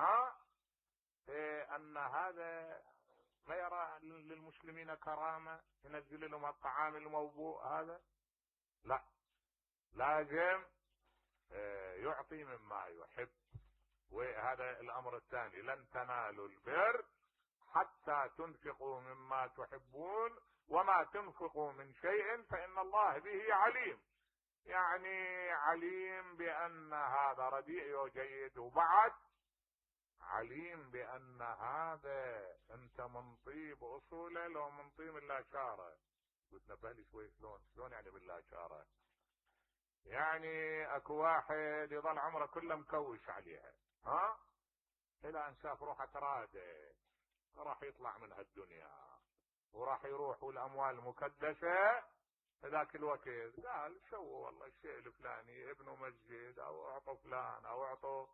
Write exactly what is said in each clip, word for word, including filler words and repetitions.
ها إيه ان هذا ما يرى للمسلمين كرامة ينزل لهم الطعام الموبوء هذا؟ لا، لازم إيه يعطي مما يحب. وهذا الامر الثاني، لن تنالوا البر حتى تنفقوا مما تحبون وما تنفقوا من شيء فإن الله به عليم. يعني عليم بأن هذا رديء وجيد، وبعد عليم بأن هذا انت من طيب اصوله لو من طيب الله شاره. قلت نبالي شوي شلون شلون يعني بالله شاره؟ يعني اكو واحد يظل عمره كله مكوش عليها، ها الى ان شاف روحه تراده راح يطلع من هالدنيا وراح يروح والاموال مكدسه. ذاك الوقت قال شو والله الشيء الفلاني ابنه مسجد او اعطوا فلان او اعطوا،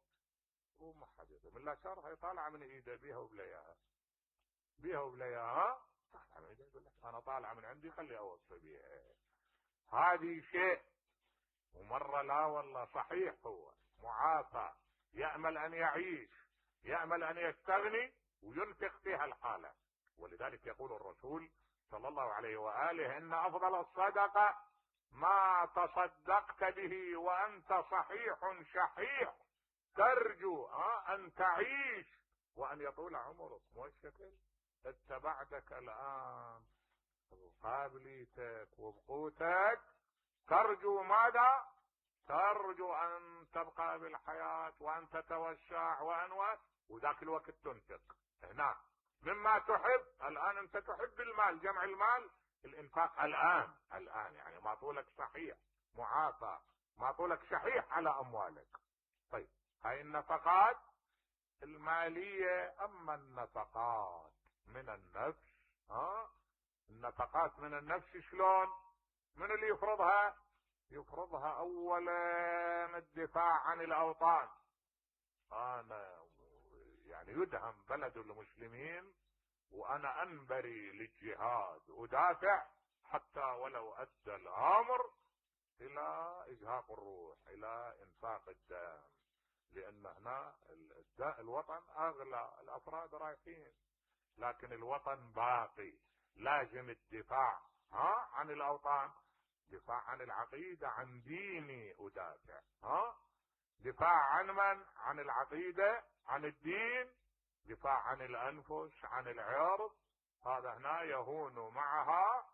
وما حد يدري من لا شر يطالع من ايده بيها وبلياها بيها وبلياها طالع من ايده يقول لك انا طالع من عندي خلي اوصي بيها. هذه شيء. ومره لا والله صحيح هو معافى يأمل ان يعيش يأمل ان يستغني وينفق فيها الحالة. ولذلك يقول الرسول صلى الله عليه وآله ان افضل الصدقة ما تصدقت به وانت صحيح شحيح ترجو ان تعيش وان يطول عمرك. مو الشكل اتبعتك الان بقابليتك وبقوتك ترجو ماذا؟ ترجو ان تبقى بالحياة وان تتوسع وان وذاك الوقت تنفق هنا مما تحب. الان انت تحب المال، جمع المال، الانفاق الان الان يعني ما طولك صحيح معافى، ما طولك شحيح على اموالك. طيب هاي النفقات المالية. اما النفقات من النفس، ها النفقات من النفس شلون؟ من اللي يفرضها؟ يفرضها اولا الدفاع عن الاوطان. انا يعني يدهم بلد المسلمين وانا انبري للجهاد ودافع حتى ولو ادى الامر الى ازهاق الروح الى انفاق الدم، لان هنا الوطن اغلى، الافراد رايحين لكن الوطن باقي. لازم الدفاع ها عن الاوطان، دفاع عن العقيدة، عن ديني ادافع. ها دفاع عن من؟ عن العقيدة، عن الدين، دفاع عن الانفس، عن العرض. هذا هنا يهون معها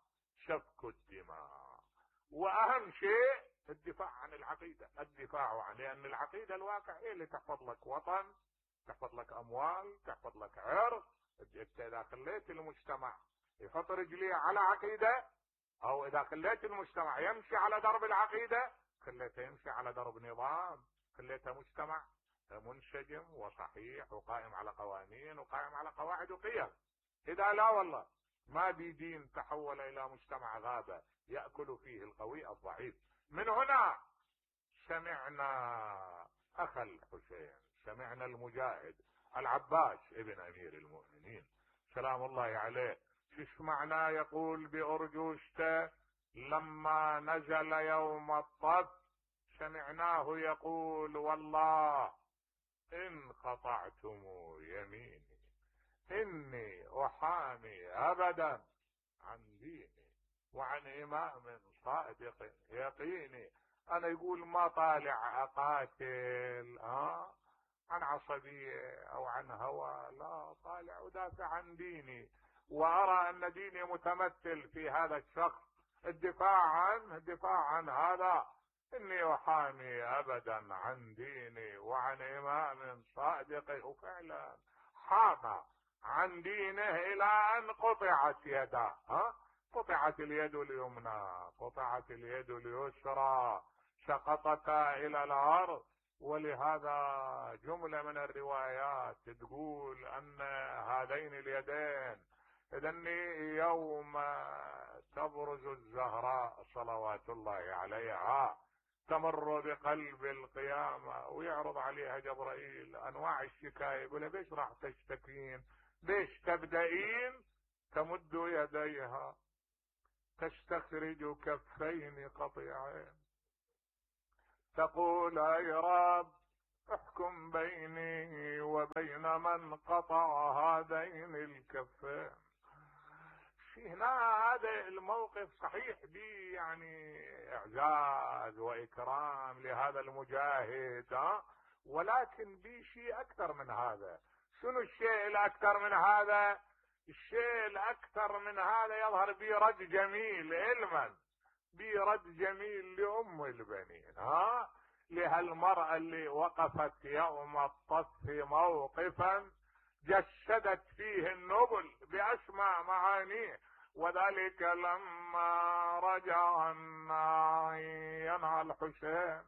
سفك الدماء. واهم شيء الدفاع عن العقيدة، الدفاع عن، لان العقيدة الواقع هي اللي تحفظ لك وطن، تحفظ لك اموال، تحفظ لك عرض. انت اذا خليت المجتمع يحط رجليه على عقيدة، او اذا خليت المجتمع يمشي على درب العقيدة خليته يمشي على درب نظام، خليته مجتمع منسجم وصحيح وقائم على قوانين وقائم على قواعد وقيم. اذا لا والله ما بي دين تحول الى مجتمع غابة يأكل فيه القوي الضعيف. من هنا سمعنا اخ الحسين، سمعنا المجاهد العباس ابن امير المؤمنين سلام الله عليه، شش معناه يقول بأرجوشته لما نزل يوم الطب سمعناه يقول والله ان قطعتم يميني اني احامي ابدا عن ديني وعن امام صادق يقيني. انا يقول ما طالع اقاتل ها عن عصبية او عن هوى، لا طالع ادافع عن ديني، وارى ان ديني متمثل في هذا الشخص. الدفاع عنه الدفاع عن هذا، اني احامي ابدا عن ديني وعن امام صادق. وفعلا حامى عن دينه الى ان قطعت يده، ها قطعت اليد اليمنى، قطعت اليد اليسرى، سقطتا الى الارض. ولهذا جملة من الروايات تقول ان هذين اليدين اذني يوم تبرز الزهراء صلوات الله عليها تمر بقلب القيامة ويعرض عليها جبرائيل انواع الشكاية، يقول بيش راح تشتكين؟ بيش تبدأين؟ تمد يديها تستخرج كفين قطيعين تقول اي رب احكم بيني وبين من قطع هذين الكفين. في هنا هذا الموقف صحيح به يعني اعزاز واكرام لهذا المجاهد، ها، ولكن به شيء اكثر من هذا. شنو الشيء الاكثر من هذا؟ الشيء الاكثر من هذا يظهر به رد جميل علما، به رد جميل لام البنين، ها، لهالمرأة اللي وقفت يوم الطف موقفا جسدت فيه النبل بأسمى معانيه، وذلك لما رجع الناعي ينعى الحسين